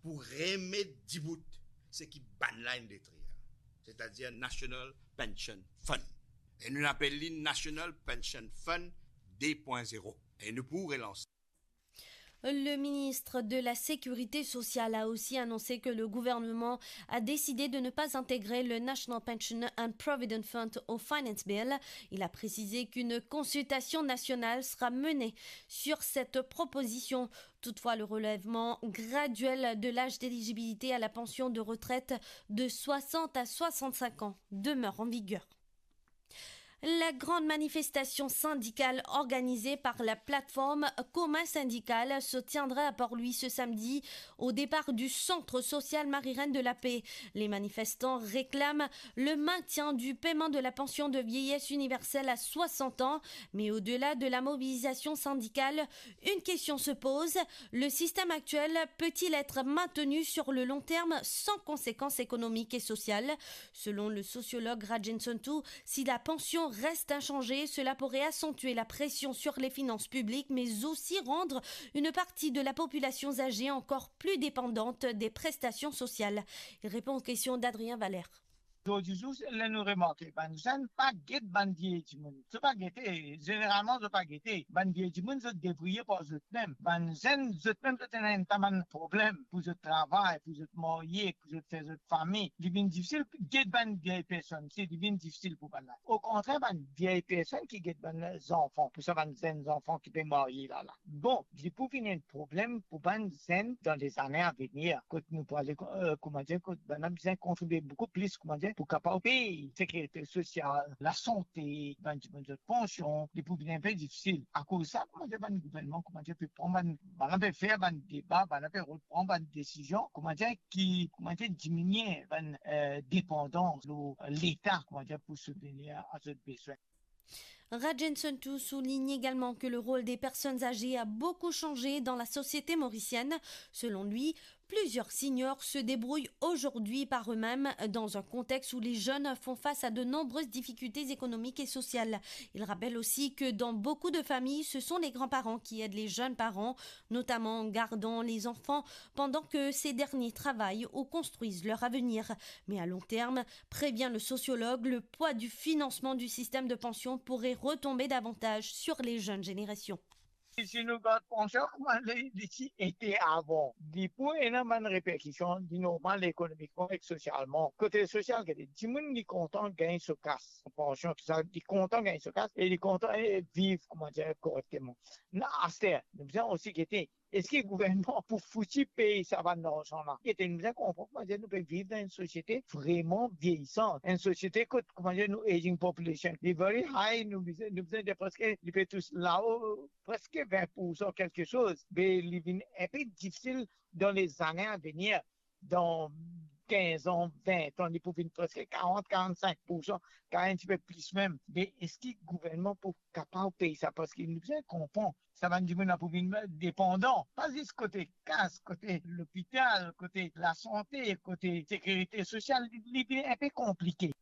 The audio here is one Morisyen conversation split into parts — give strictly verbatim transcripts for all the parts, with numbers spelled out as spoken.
pou remet dibout seki bann la inn detrir, setadir National Pension Fund. E nou apel li National Pension Fund de pwin zero. E nou pou relans. Le ministre de la Sécurité sociale a aussi annoncé que le gouvernement a décidé de ne pas intégrer le National Pension and Provident Fund au Finance Bill. Il a précisé qu'une consultation nationale sera menée sur cette proposition. Toutefois, le relèvement graduel de l'âge d'éligibilité à la pension de retraite de soixante à soixante-cinq ans demeure en vigueur. La grande manifestation syndicale organisée par la plateforme Commun Syndical se tiendra à Port-Louis ce samedi au départ du Centre Social Marie-Reine de la Paix. Les manifestants réclament le maintien du paiement de la pension de vieillesse universelle à soixante ans, mais au-delà de la mobilisation syndicale, une question se pose, le système actuel peut-il être maintenu sur le long terme sans conséquences économiques et sociales ? Selon le sociologue Rajen Sontu, si la pension reste inchangée, cela pourrait accentuer la pression sur les finances publiques, mais aussi rendre une partie de la population âgée encore plus dépendante des prestations sociales. Il répond aux questions d'Adrien Valère. Zordi zour, ler nou remarke, bann zenn pa get bann vie dimoun. Zot pa gete, zeneralman zot pa gete. Bann vie dimoun, zot debrouye par zot mem. Bann zenn, zot mem, zot ena enn ta bann problem pou zot travay, pou zot marye, pou zot fer zot fami. Li vinn difisil get bann vie personn, se li vinn difisil pou bann la. Okontrer, bann vie personn ki get bann zanfan, pou sa bann zenn zanfan ki pe marye la la. Bon, li pou vinn enn problem pou bann zenn dan lezane avenir, kot nou pou ale, eh, koumadir, kot bann la bizin kontribie boukou plis, koumadir, pou kapav pey sekirite sosial, lasante, bann dimoun zot pansion, li pou vinn enpe difisil. Akoz sa, koumadir, bann gouvernman, koumadir, pe pran bann, bann la pe fer bann deba, bann la pe pran bann desizion, koumadir, ki, koumadir, diminie bann, eh, depandans lor Leta, koumadir, pou soutnir a zot bezwin. Rajen Sontu souligne également que le rôle des personnes âgées a beaucoup changé dans la société mauricienne. Selon lui, plusieurs seniors se débrouillent aujourd'hui par eux-mêmes dans un contexte où les jeunes font face à de nombreuses difficultés économiques et sociales. Il rappelle aussi que dans beaucoup de familles, ce sont les grands-parents qui aident les jeunes parents, notamment en gardant les enfants, pendant que ces derniers travaillent ou construisent leur avenir. Mais à long terme, prévient le sociologue, le poids du financement du système de pension pourrait retomber davantage sur les jeunes générations. Si nou gard pansion, kouma li, li ti ete avan, li pou ena bann reperkision, li normal ekonomikman ek sosialman. Kote sosial, gete, dimoun li kontan gagn so kas, pansion, tousa, li kontan gagn so kas e li kontan, eh, viv, koumadir, korekteman. Na, aster, nou bizin osi gete, eski gouvernman pou fouti pey sa bann larzan la? Gete, nou bizin konpran, koumadir, nou pe viv dan enn sosiete vreman vieyisan, enn sosiete kot, koumadir, nou aging population, li very high, nou bizin, nou bizin dir preske, li pe tous lao, preske vin poursan kelke soz, me li vinn enpe difisil dan lezane avenir, dan kinz an, vin an, li pou vinn preske karant, karant-sink poursan, kapav enn tipe plis mem. Me eski gouvernman pou kapav pey sa? Parski nou bizin konpran, sa bann dimoun la pou vinn depandan, pa zis kote kas, kote lopital, kote lasante, kote sekirite sosial, li, li vinn enpe konplike.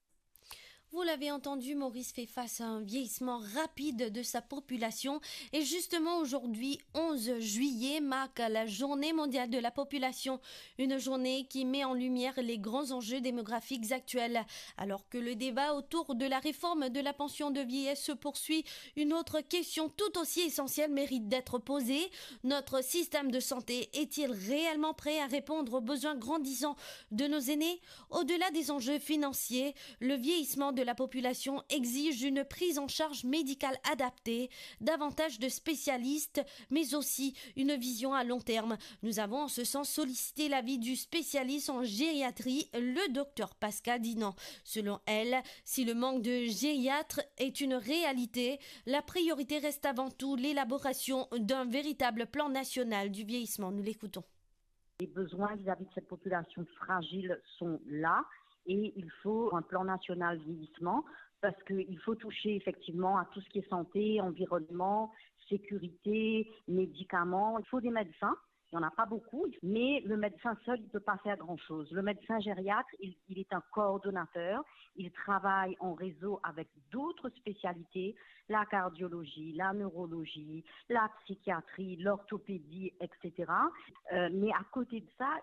Vous l'avez entendu, Maurice fait face à un vieillissement rapide de sa population. Et justement, aujourd'hui, onze juillet, marque la Journée mondiale de la population, une journée qui met en lumière les grands enjeux démographiques actuels. Alors que le débat autour de la réforme de la pension de vieillesse se poursuit, une autre question tout aussi essentielle mérite d'être posée. Notre système de santé est-il réellement prêt à répondre aux besoins grandissants de nos aînés ? Au-delà des enjeux financiers, le vieillissement de la population exige une prise en charge médicale adaptée, davantage de spécialistes, mais aussi une vision à long terme. Nous avons en ce sens sollicité l'avis du spécialiste en gériatrie, le docteur Pascal Dinan. Selon elle, si le manque de gériatres est une réalité, la priorité reste avant tout l'élaboration d'un véritable plan national du vieillissement. Nous l'écoutons. Les besoins vis-à-vis de cette population fragile sont là et il faut un plan national vieillissement parce qu'il faut toucher effectivement à tout ce qui est santé, environnement, sécurité, médicaments. Il faut des médecins. Il n'y en a pas beaucoup, mais le médecin seul, il ne peut pas faire grand-chose. Le médecin gériatre, il, il est un coordonnateur, il travaille en réseau avec d'autres spécialités, la cardiologie, la neurologie, la psychiatrie, l'orthopédie, et cetera. Euh, mais à côté de ça,